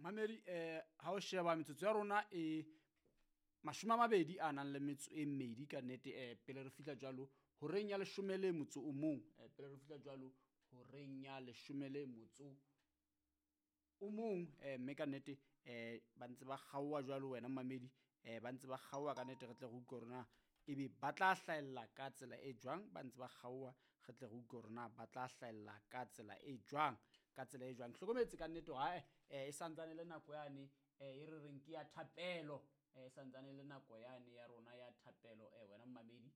Mamedi, ha o sheba metsotso ya rona e 20 a nang le metso e mmedi ka nnete, pele re fihla jwalo horeng ya 11, pele re fihla jwalo horeng ya 11, mme ka nnete ba ntse ba kgaoha jwalo wena mamedi, ba ntse ba kgaoha ka nnete. Re tle re utlwe hore na ebe ba tla hlahella ka tsela e jwang. Ba ntse ba kgaoha, re tle re utlwe hore na ba tla hlahella ka tsela e jwang, ka tsela e jwang. Hlokometse ka nnete hore e santsane le nako yane e re reng ke ya thapelo, e santsane le nako yane ya rona ya thapelo, wena mmamedi,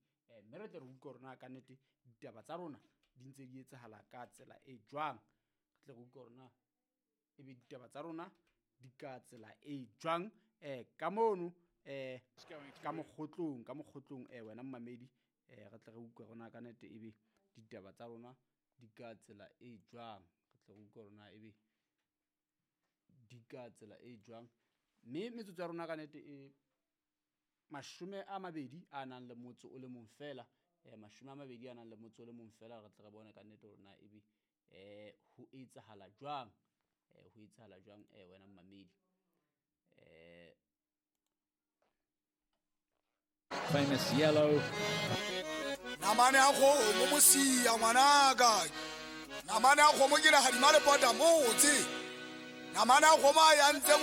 mme re tle re utlwe hore na ka nnete ditaba tsa rona di ntse di etsahala ka tsela e jwang. Re tle re utlwe hore na ebe ditaba tsa rona di ka tsela e jwang, ka mono, ka mokgotlong, ka mokgotlong, wena mmamedi, re tle re utlwe hore na ka nnete ebe ditaba tsa rona di ka tsela e jwang. Re tle re utlwe hore na ebe di ka tsela e jwang, mme metsotso ya rona ka nnete e 20 a nang le motso o le mong fela, 20 a nang le motso o le mong fela. Re tle re bone ka nnete hore na ebe ho etsahala jwang, ho etsahala jwang, wena mmamedi. Famous yellow. Namane ya kgomo mosia ngwanaka, namane ya kgomo ke legadima le pota motse, namane ya kgomo a ya ntse.